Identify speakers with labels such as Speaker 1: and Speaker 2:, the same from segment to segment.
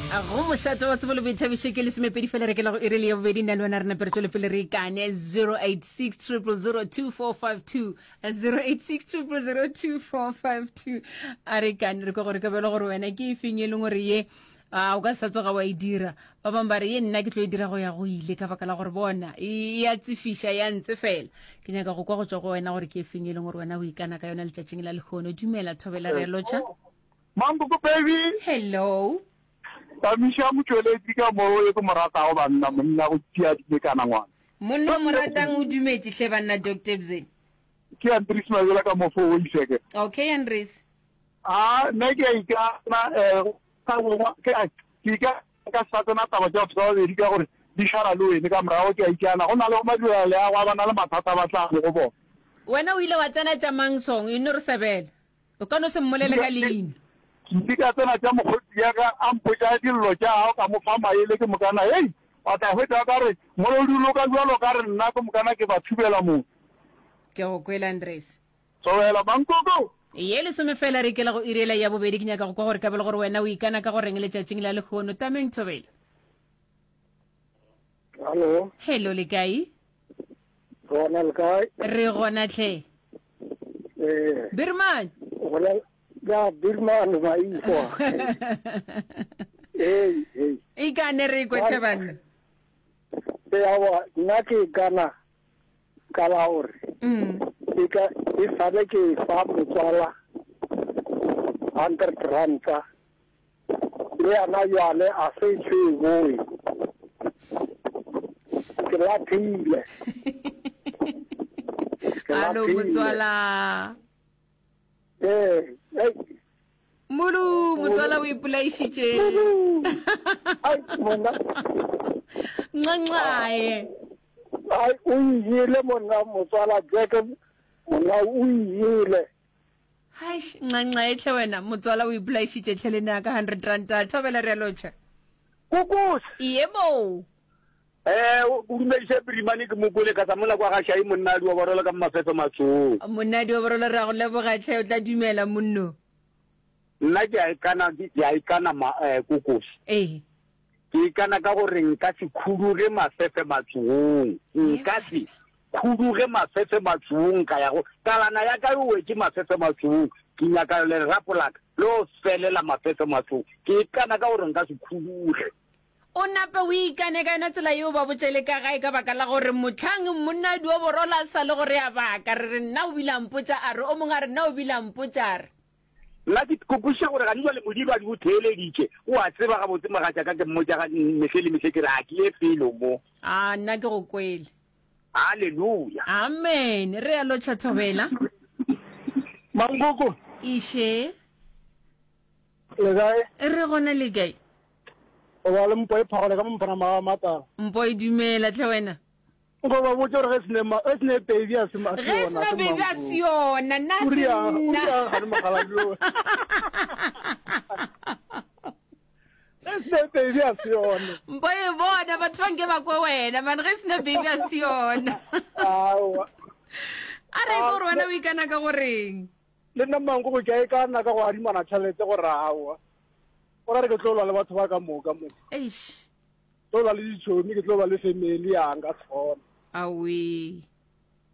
Speaker 1: Go mošate wa tsebo le boithabišo ke lesomepedi fela re ke la go iri le ya bobedi nna le wena re nape re tšwele pele re ikane 086 0002452 086 0002452 a re ikane re kwa gore ka bjalo gore wena ke e feng e leng gore ye a o ka sa tsoga wa e dira ba bangwe ba re ye nna ke tlo e dira go ya go ile ka baka la gore bona e ya tsefiša ya ntse fela ke nyaka go kwa go tswa go wena gore ke e feng e leng gore wena o ikana ka yona letšatšing la lehono dumela thobela re a lotšha
Speaker 2: Mankoko baby.
Speaker 1: Hello.
Speaker 2: Tamiša motšweletši ka mo e ke mo ratago banna monna go tšea dimekana ngwana.
Speaker 1: Monna o mo ratang o dumetše hle banna Doctor Bze.
Speaker 2: Ke Andries Mabela ka mo fo Oiseke.
Speaker 1: Okay Andries.
Speaker 2: A nna ke a ikana eh ke a ke ikana ka sa tsena taba tša batho ba babedi ka gore di šala le wene ka morago ke a ikana go na le madirela leago a ba na le mathata ba tla mo go bona.
Speaker 1: Wena o ile wa tsena tša mang song e no re sebela. O ka no se mmolele ka leina.
Speaker 2: Ke ile ka tsena tša mokgotsi ya ka, a mpotša dillo tša gagwe, ka mo fa maele, ke mokana, hei, wa tla hwetša o ka re molodi o loka bjalo ka re nna, ke mokana ke ba thubela motse.
Speaker 1: Ke go kwele, Andres.
Speaker 2: Thobela, Mankoko!
Speaker 1: Ye lesome fela re ikela go iri yela ya bobedi, ke nyaka go kwa gore ka bjalo gore wena o ikana ka go reng letšatšing la lehono. Tameng, Thobela.
Speaker 3: Hallo.
Speaker 1: Hello, le kae?
Speaker 3: Gona le kae?
Speaker 1: Re gona tlhe.
Speaker 3: Eh.
Speaker 1: Birman.
Speaker 3: Gona ya Birman ba ikwa. Hey, hey.
Speaker 1: Ikane re kwe tlhe banna.
Speaker 3: Ya wa nna ke kana ka la gore.
Speaker 1: Mm.
Speaker 3: E ka e sale ke fa motswala 100 ranta. Le yena bjale a se tseboe. Ke laphile.
Speaker 1: Ke Alo
Speaker 3: laphile.
Speaker 1: motswala.
Speaker 3: Ee, ei.
Speaker 1: Mulu, motswala o ipolaišitše.
Speaker 3: Mulu. Ai, monna.
Speaker 1: Nxanxae.
Speaker 3: Ai, o ile monna motswala Jack, monna o ile.
Speaker 1: Haish, nxanxa etlhe wena, motswala o ipolaišitše tlhe le nna ka 100 ranta. Thobela re a lotšha.
Speaker 4: Kokos.
Speaker 1: Yebo.
Speaker 4: Eh, o dumediše Pirimane ke mo kwele ka sa mola kwa ga Shai monna di oborola ka mafefe matsong.
Speaker 1: Monna di oborola re a go leboga tlhe o tla dumela monno.
Speaker 4: Nna ke a ikana ke a ikana ma eh kokos.
Speaker 1: Ee.
Speaker 4: Ke ikana ka gore nka se khuduge mafefe matsong. Nka se Khuduge mafefe matsuong ka ya go kalana ya ka e wetše mafefe matsuong ke nyaka lerapo la ka le o felela mafefe matsuong ke ikana ka gore nka se khuduge.
Speaker 1: O nape o ikane ka yona tsela yeo ba botše le ka gae ka baka la gore mohlang monna Duoborola a sa le go re a baka re re nna o bile a mpotša a re o mongwe a re nna o bile a mpotša a re.
Speaker 4: Nna ke ke kwešiša gore gane jwale Modimo a di o theeleditše o a tseba gabotse mogatšaka ke mmotša ga mehle le mehle ke re a ke ye felo mo.
Speaker 1: A nna ke go kwele.
Speaker 4: Haleluya.
Speaker 1: Amen. Re a lotšha Thobela.
Speaker 2: Mankoko.
Speaker 1: Iše.
Speaker 2: Le kae?
Speaker 1: Re gona le kae?
Speaker 2: O ba le mpo e phagole ka mo mphana ma matala.
Speaker 1: Mpo e dumela tlhe wena.
Speaker 2: Nko ba botse gore ge sene ma ge sene baby a se ma
Speaker 1: Ge sena baby a se yona nna se nna.
Speaker 2: O ga le mogala bjo. Ge sene baby a se yona.
Speaker 1: Mpo e bona batho ba nke ba kwe wena man ge sena baby a se yona.
Speaker 2: Aowa.
Speaker 1: A re gore wena o ikana ka goreng?
Speaker 2: Le nna manko go ke a ikana ka go adimana tšhelete gore aowa. O ra re ke tlo lwa le batho ba ka moka mo.
Speaker 1: Eish.
Speaker 2: Tlo ba le ditšhomi ke tlo ba le family ya nka se kgone.
Speaker 1: Aowi.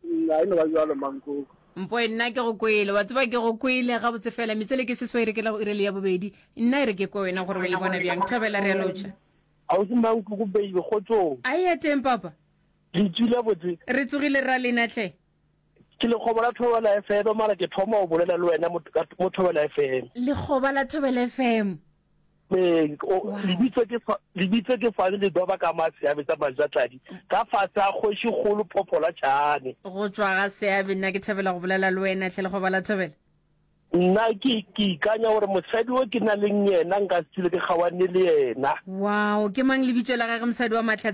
Speaker 2: Nna e no ba bjalo mankoko.
Speaker 1: Mpoe nna ke go kwele wa tseba ke go kwele gabotse fela metswele ke seswai re ke la go ire le ya bobedi nna e re ke kwe wena gore o e bona bjang thobela re a lotšha.
Speaker 2: Ausi Mankoko baby kgotsong.
Speaker 1: A ya teng papa.
Speaker 2: Le tswile botse.
Speaker 1: Re tsogile ra lena hle.
Speaker 2: Ke lekgoba la Thobela FM mara ke thoma go bolela le wena mo Thobela FM.
Speaker 1: Lekgoba la Thobela FM.
Speaker 2: Ee, lebitso ke lebitso ke fane le doba ka ma seabe sa majatladi ka fase a kgoši kgolo phophola tšhane.
Speaker 1: Go tšwa ga seabe nna ke thabela go bolela le wena hle lekgoba la Thobela.
Speaker 2: Nna ke ke ikanya gore mosadi o ke na leng yena nka se tsile ke kgawane le yena.
Speaker 1: Wow, ke mang lebitso la gage mosadi wa Mahlatse?